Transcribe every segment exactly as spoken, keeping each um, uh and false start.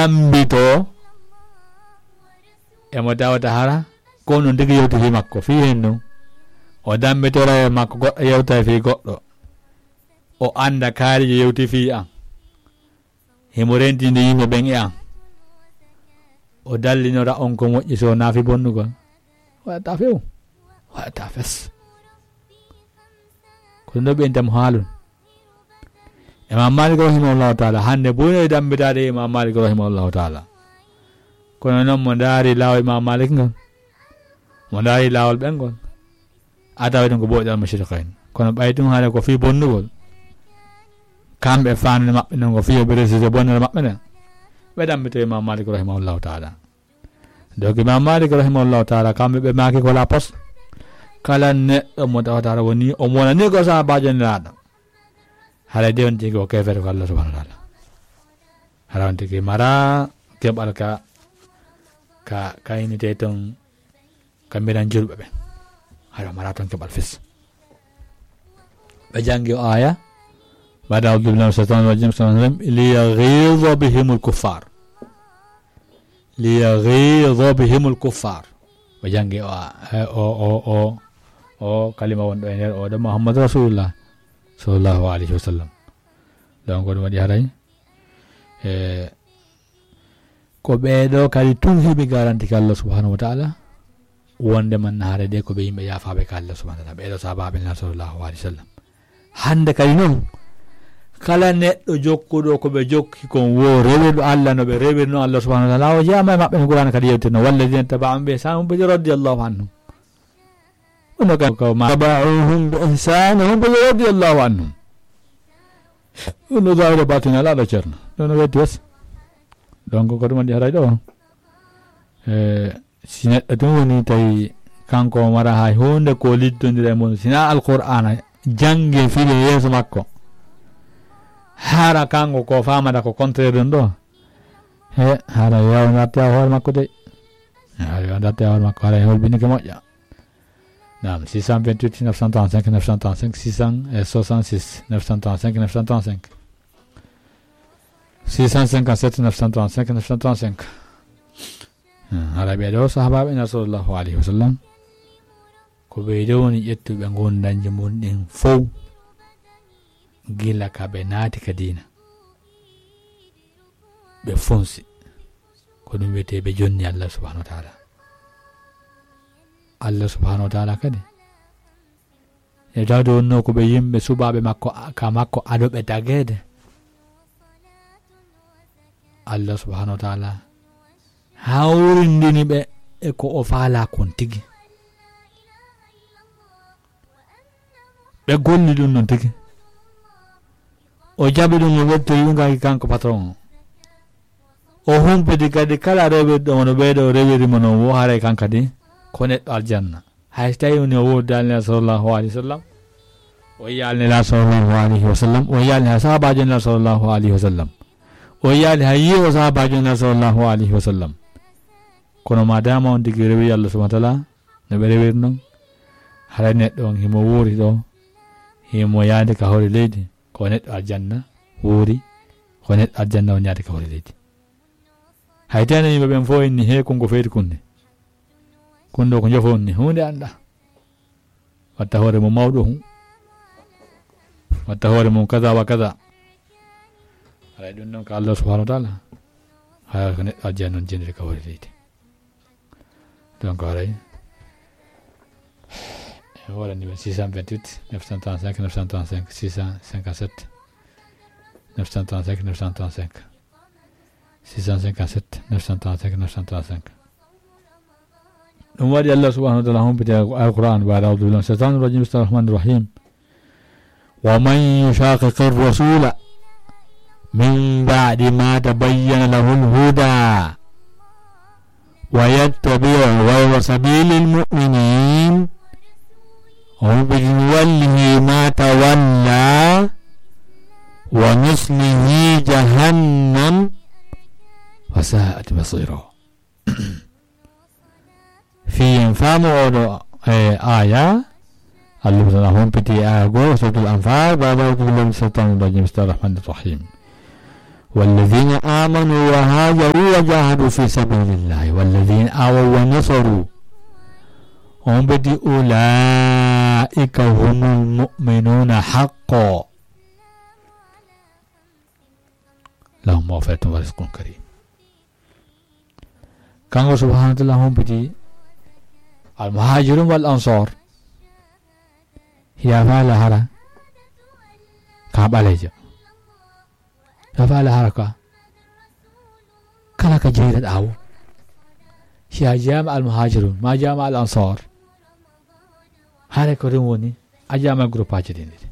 Dambito emo tawata hara ko non tigi yewti fii makko fii hen non. O dambitora e makko goɗɗo yewta fii goɗɗo. O annda kaari je yewti fii an. Himo rentinde yimɓe ɓen e an. O dallinora on ko moƴƴi so naafi bonnugol. Waɗata few. Waɗata fes. Ko ɗum ɗo ɓe intam haalun. Imam Malik rahimahullahu taala, hannde buy e dambitaade Imam Malik rahimahullahu taala. Kono noon mo ndaari laawol Imam Malik ngol, mo ndaari laawol ɓen ngol, a tawi ɗum ko booɗi al-mashriqayn. Kono ɓay ɗum haala ko fii bonnugol, kamɓe faandude maɓɓe non ko fii ɓe reside bonnere maɓɓe nden, ɓe dambito Imam Malik rahimahullahu taala. Donc Imam Malik rahimahullahu taala, kamɓe ɓe maaki ko la pos, kala neɗɗo mo tawata woni, o wonani ko sahaabaajo Nelaaɗo, haray de on tigi o keefeero ko Allah subhanahu wa taala. Hara on tigi mara keɓal ka, ka, ka inite ton, ka mbiran julɓe ɓe. Hara mara ton keɓal fis. Ɓe janngi o aya, بعد أعوذ بالله من الشيطان الرجيم، بسم الله الرحمن الرحيم، ليغيظ بهم الكفار. ليغيظ بهم الكفار. Ɓe janngi o a-, e, o, o, o, o kalima wonɗo e nder o ɗo Muhammad Rasulullah sallallahu alayhi wa sallam. Donc ko ɗum waɗi haray, e, ko ɓeeɗo kadi tun heɓi garanti ka Allah subhanahu wa taala, wonde man haray de ko ɓe yimɓe yaafaaɓe ka Allah subhanahu wa taala, ɓeeɗo sahaabaaɓe Nelaaɗo sallallahu alayhi wa sallam. Hannde kadi non, kala neɗɗo jokkuɗo ko ɓe jokki kon wo rewirɗo Allah no ɓe rewirno Allah subhanahu wa taala, o jeyaama e maɓɓe no Qur'aana kadi yewtirno, والذين اتبعوهم بإحسان هم به رضي الله عنهم. Ono ka, ka ma, اتبعوهم بإحسان هم به رضي الله عنهم. Ono zahira batina ala ɗo Ceerno. Ɗo no wetti wes. Donc ko ɗum waɗi haray ɗo. E, si neɗɗo tun woni tawi kanko o mara hay huunde ko liddondira e mum, sina Alqur'aana jannge file yeeso makko. Hara kanko ko faamata ko contraire ɗum ɗo. He, hara yaw natti a hoore makko de. Hara yaw natti a hoore makko, hara holbinike moƴƴa. Naam, six cent vingt-huit, neuf cent trente-cinq, neuf cent trente-cinq, six cent soixante-six, neuf cent trente-cinq, neuf cent trente-cinq. Six cent cinquante-sept, neuf cent trente-cinq, neuf cent trente-cinq. Hmm, hara ɓe ɗo sahaabaaɓe Nelaaɗo sallallahu alayhi wa sallam. Ko ɓe ɗo woni ƴettuɓe ngondanji mun ɗin fow. Gila ka ɓe naati ka diina. Ɓe fonsi. Ko ɗum wiyetee ɓe jonni Allah subhanahu wa taala. Allah subhanahu wa taala kadi. E tawde wonno ko ɓe yimɓe suɓaaɓe makko, a-, ka makko ado ɓe tageede. Allah subhanahu wa taala hawrindini ɓe e ko o faala kon tigi. Ɓe golli ɗum non tigi. O jaɓi ɗum, o weltori ɗum kadi kanko patron o. O humpiti kadi kala rewirɗo mo no ɓeeɗo rewiri mo non wo haray kan kadi ko neɗɗo aljanna. Hay so tawi woni o woodi Nelaaɗo sallallahu alayhi wa sallam, o yiyaali Nelaaɗo sallallahu alayhi wa sallam, o yiyaali hay sahaabaajo Nelaaɗo sallallahu alayhi wa sallam, o yiyaali hay yiiwo sahaabaajo Nelaaɗo sallallahu alayhi wa sallam. Kono ma dama on tigi rewi Allah subhanahu wa taala, no ɓe rewiri non, haray neɗɗo on himo wuuri ɗo, himo yaade ka hoore leydi, ko neɗɗo aljanna wuuri, ko neɗɗo aljanna on yaade ka hoore leydi. Hay teno yimɓe ɓen fof inni he kon ko feeri kunne. Kun ɗo ko njofo on ni, huunde annda. Watta hoore mum mawɗo hu. Watta hoore mum kaza wa kaza. Haray ɗum noon ko Allah subhanahu wa taala. Haray ko neɗɗo aljanna noon jenniri ka hoore leydi. Donc haray. E hoore numéro six cent vingt-huit, neuf cent trente-cinq, neuf cent trente-cinq, six cent cinquante-sept, neuf cent trente-cinq, neuf cent trente-cinq. Six cent cinquante-sept, neuf cent trente-cinq, neuf cent trente-cinq. Ɗum waɗi Allah subhanahu wa taala humpiti Alquran, بعد أعوذ بالله من الشيطان الرجيم، بسم الله الرحمن الرحيم. ومن يشاقق الرسول من بعد ما تبين له الهدى ويتبع غير سبيل المؤمنين، o humpiti, نوله ما تولى ونصله جهنم وساءت مصيرا. Fii en faamu oɗo, e, aaya, Allah subhanahu wa taala humpiti aaya goo, Suratul Anfal, بعد أعوذ بالله من الشيطان الرجيم، بسم الله الرحمن الرحيم. والذين آمنوا وهاجروا وجاهدوا في سبيل الله والذين آووا ونصروا. On ɓe di, أولئك هم المؤمنون حقا. لهم مغفرة ورزق كريم. Kanko subhanahu wa ta'ala humpiti al-muhajirun wal ansar. Hiya fala hara ka ɓalejo. Hiya fala hara ka kala ka jeyra ɗawo. Hiya jama al-muhajirun, ma jama al-ansar. Hare ko ɗum woni, a jama groupe aji ɗin ɗiɗi.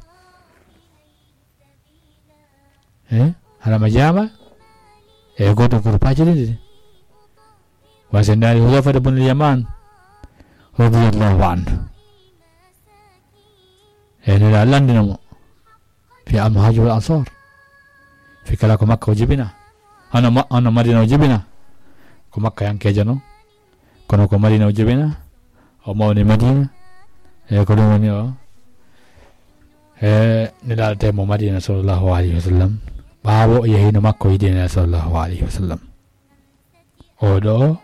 Eh? Hara ma jama e goto groupe aji ɗin ɗiɗi. Wa sen dari Hudhayfata bun Yaman radiyallahu anhu. E nira landina mo. Fi al-muhajir wal ansar. Fi kala ko Makka o jibina. Ano ma-, ano Madina o jibina. Ko Makka yankejo no. Kono ko Madina o jibina. O mawni Madina. E ko ɗum woni o. E nira te mo Madina sallallahu alaihi wasallam. Ɓawo o yahino Makka o yiɗi nira sallallahu alaihi wasallam. Oɗo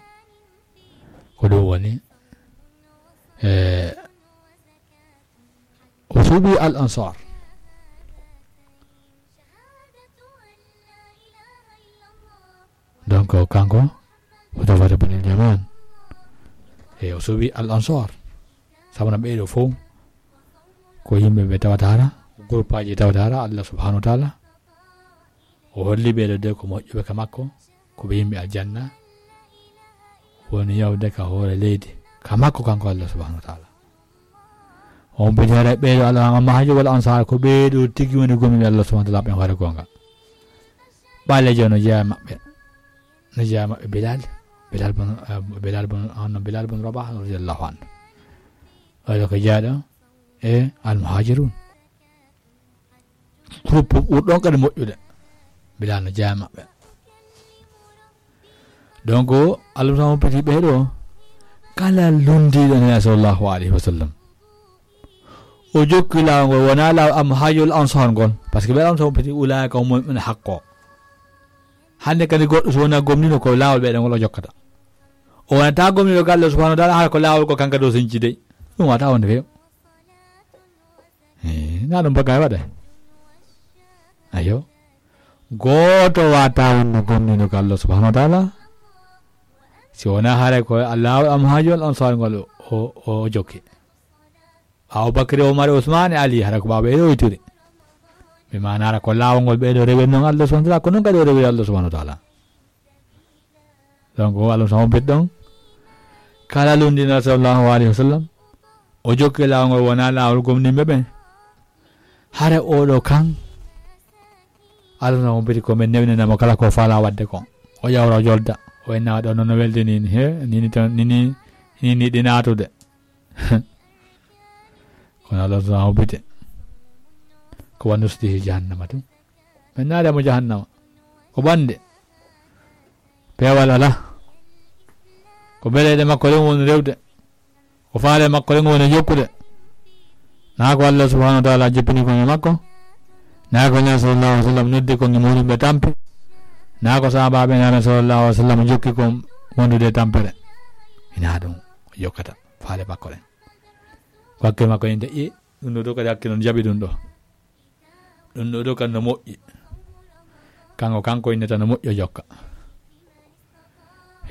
ko ɗum woni. E o suuɓi al ansar. Donc kanko Hudhayfata bun Yaman. E o suuɓi al ansar. Sabu na ɓeɗo fof ko yimɓe ɓe tawata hara, groupe aji tawata hara Allah subhanahu wa ta'ala. O holli ɓeɗo de ko moƴƴuɓe ka makko, ko ɓe yimɓe aljanna. Woni yawde ka hoore leydi ka makko kanko Allah subhanahu wa ta'ala. On ɓe jara ɓeɗo Allah, amma hajjo wal ansar ko ɓeɗo tigi woni gomni Allah subhanahu wa ta'ala ɓen hoore gonga. Ɓalejo no jeya maɓɓe. No jeya maɓɓe Bilal. Bilal bun, eh, Bilal bun, ah, no Bilal bun Rabah radiyallahu anhu. Oɗo ko jaaɗo e al-muhajirun. Groupe ɓurɗon kadi moƴƴude. Bilal no jeya maɓɓe. Donc, Allah tan humpiti ɓeɗo. Kala lundiɗo Nela sallallahu alaihi wasallam. O jokki laawol ngol, wona laawol al-muhajirul ansar ngol. Parce que ɓe Allah tan humpiti ulaika humul mu'minuna haqqo. Hande kadi goɗɗo so wona gomnino ko laawol ɓeɗo ngol o jokkata. O wonata gomniɗo ga Allah subhanahu wa ta'ala, hara ko laawol ko kanka dow senci dey. Ɗum wata wonde few. Eh, na ɗum bagay waɗa. Ayo. Gooto wata wonde gomniɗo ga Allah subhanahu wa ta'ala. Si wona hare ko laawol al-muhajirul ansar ngol o, o, o jokki. Ɓaawo Bakri, Omar, Usman e Ali, hara ko ɓaawo ɓeɗo o ittiri. Ɓe manara ko laawol ngol ɓeɗo rewen non Allah subhanahu wa ta'ala, ko non kadi o rewi Allah subhanahu wa ta'ala. Donc, o Allah tan humpiti ɗon. Kala lundiɗo sallallahu alaihi wasallam, o jokki laawol ngol wona laawol gomnimɓe ɓen. Hare oɗo kan, Allah tan humpiti ko men newninamo kala ko fala wadde kon. O ƴawra o jolda, o inna ɗo noon no weldi ni, he, ni ni tan, ni ni, ni ni ɗi natude. Kono Allah tan humpiti. Ko wa nuslihi jahannama tun. Men naada mo jahannama. Ko ɓande. Peewal ala. Ko beleɗe makko ɗen woni rewde. Ko faale makko ɗen woni jokkude. Na ko Allah subhanahu wa ta'ala jippini ko e makko. Na ko Nela sallallahu alaihi wasallam noddi ko ngi moni ɓe tampi. Na ko sahabaɓe Nela sallallahu alaihi wasallam jokki ko wondude e tampere. Ina ɗum o jokkata faale makko ɗen. Ko hakke makko inde i ɗum ɗo kadi hakke non jaɓi ɗum ɗo. Ɗum ɗo ɗo kan no moƴƴi. Kanko, kanko innata no moƴƴo jokka.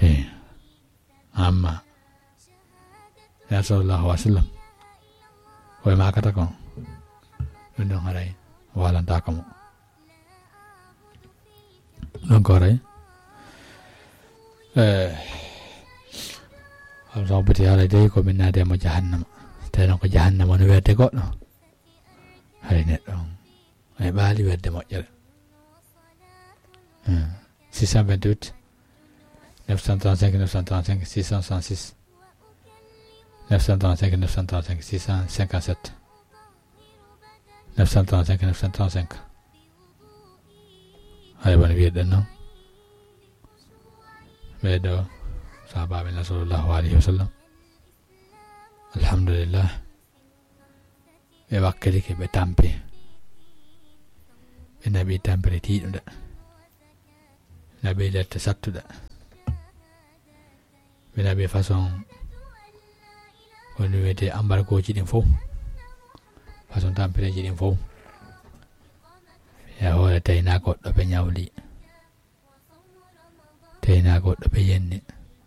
He. Amma. Ya sallallahu alaihi wasallam. Koye makata kon. Ɗum ɗon haray. Walanta ko mo. Ɗum ko haray. Eh. Alhamdulillah, haray dey ko min naade mo jahannama. Tawi noon ko jahannama no werde goɗɗo. Hay neɗɗo on e ɓaali wedde moƴƴere. Hmm. Six cent vingt-huit, neuf cent trente-cinq, neuf cent trente-cinq, six cent soixante-six, neuf cent trente-cinq, neuf cent trente-cinq, six cent cinquante-sept, neuf cent trente-cinq, neuf cent trente-cinq. Hay woni wiyeɗen noon. Ɓeeɗo sahabaaɓe Nela sallallahu alayhi wa sallam. Alhamdulillah. Ɓe wakkilike, ɓe tampi. Ɓe naɓi tampere tiiɗunde. Naɓi lette sattuɗe. Ɓe naɓi façon ko ɗum wiyetee embargooji ɗin fof, façon tampireeji ɗin fof. E hoore tawi naa goɗɗo ɓe ñawli, tawi naa goɗɗo ɓe yenni.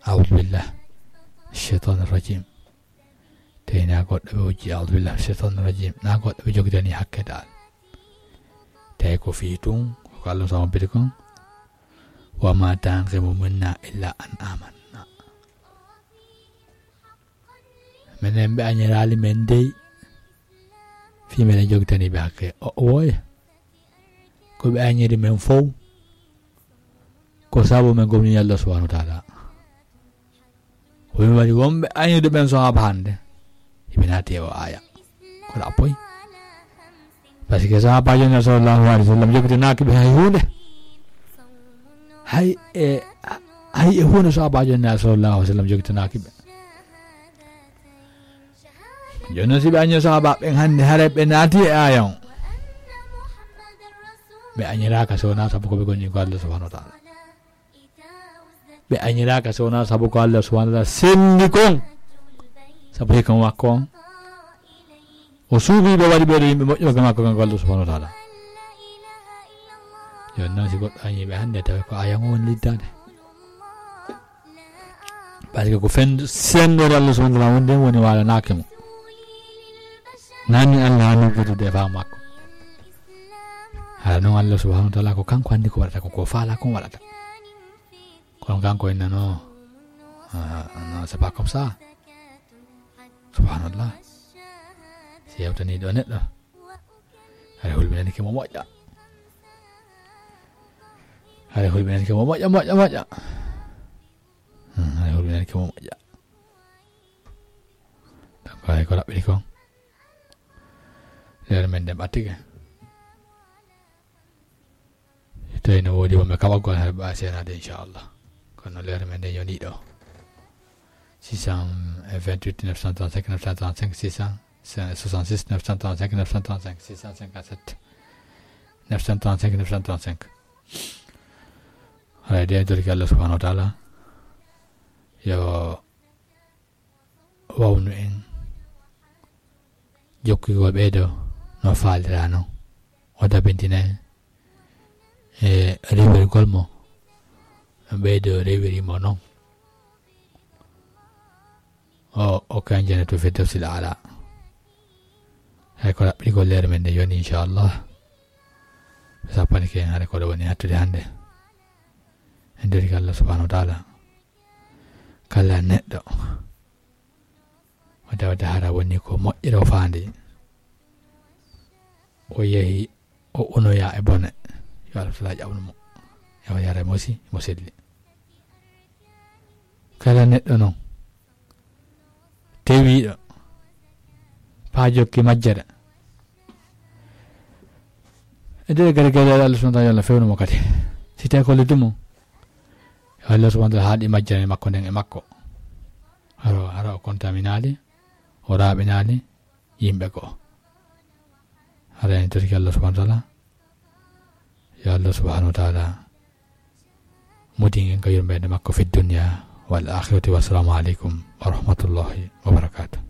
Audu billah, cheytaani rajim. Tawi naa goɗɗo ɓe wujji, audu billah, cheytaani rajim. Naa goɗɗo ɓe jogitani hakke dal. Tawi ko fii tun, ko Allah subhanahu wa ta'ala kon. Wa ma tanqimu minna illa an amanna. Menen ɓe añiraali men dey, fii meɗen jogitani ɓe hakke. O, o woye. Ko ɓe añiri men fow, ko sabu men gomni Allah subhanahu wa ta'ala. Ko ɗum waɗi wonɓe añude ɓen so haba hannde, hiɓe naati e o aaya. Ko ɗaɓɓoy. Par ce que sahaabaajo Nulaaɗo sallallahu alayhi wa sallam jogitanaaki ɓe hay huunde. Hay e, hay e huunde sahaabaajo Nulaaɗo sallallahu alayhi wa sallam jogitanaaki ɓe. Jooni noon, si ɓe añii sahaabaaɓe ɓen hannde, hare ɓe naati e aaya on. Ɓe añiraaka so wonaa sabu ko ɓe gomni ko Allah subhanahu wa ta'ala. Ɓe añiraaka so wonaa sabu ko Allah subhanahu wa ta'ala selli kon. Sabu hikma makko on. O suuɓii ɓe, waɗi ɓe ɗo yimɓe moƴƴuɓe makko kanko Allah subhanahu wa ta'ala. Jooni noon, si goɗɗo añii ɓe hannde, tawi ko aaya on woni liddaade. Par ce que ko fen-, senndore Allah subhanahu wa ta'ala wonde woni waalanaaki mo. Nani Allah haa noddude e faamu makko. Hara noon Allah subhanahu wa ta'ala ko kanko anndi ko waɗata, ko ko faala kon waɗata. Kono kanko innano, ah, non, c'est pas comme ça. Subhanallah. Si yewtanii ɗo neɗɗo, hara hulɓinani ke mo moƴƴa. Hara hulɓinani ke mo moƴƴa, moƴƴa, moƴƴa. Hmm, hara hulɓinani ke mo moƴƴa. Donc, hay ko raɓɓiɗi kon. Leere men nden ɓattike. Tawi no woodi wonɓe kaɓagol, hara ɓe seenaade, inchallah. Kono leere men nden yoni ɗo. Six cent vingt-huit neuf cent trente-cinq neuf cent trente-cinq, six cent soixante-six neuf cent trente-cinq neuf cent trente-cinq, six cent cinquante-sept neuf cent trente-cinq neuf cent trente-cinq. Haray de, en torike Allah subhanahu wa ta'ala yo wawnu en jokkugol ɓeydo no faalira non. O dabintina en e rewirgol mo, no ɓeydo rewiri mo non. O, o kan janatu firdawsil aala. Hay ko raɓɓiɗigol leere men nde yoni, inchallah. Ɓe sappanike en hare ko ɗo woni hattude hannde. En torike Allah subhanahu wa ta'ala. Kala neɗɗo o tawata hara woni ko moƴƴere o faandi, o yehi, o unoya e bone, yo Allah tala ƴaɓnu mo, yo yara mo si mo selli. Kala neɗɗo non tewiiɗo, faa jokki majjere. E nder gere gere Allah subhanahu wa ta'ala, yo Allah fewnu mo kadi. Si tawi ko leddu mum, yo Allah subhanahu wa ta'ala haaɗi majjere makko nden e makko. Haro, haro o contaminaali, o raaɓinaali yimɓe ko. Hara en torike Allah subhanahu wa ta'ala. Yo Allah subhanahu wa ta'ala mudin en ka yurmeende makko fi dunya wal akhirati. Wassalamu alaikum wa rahmatullahi wa barakatuh.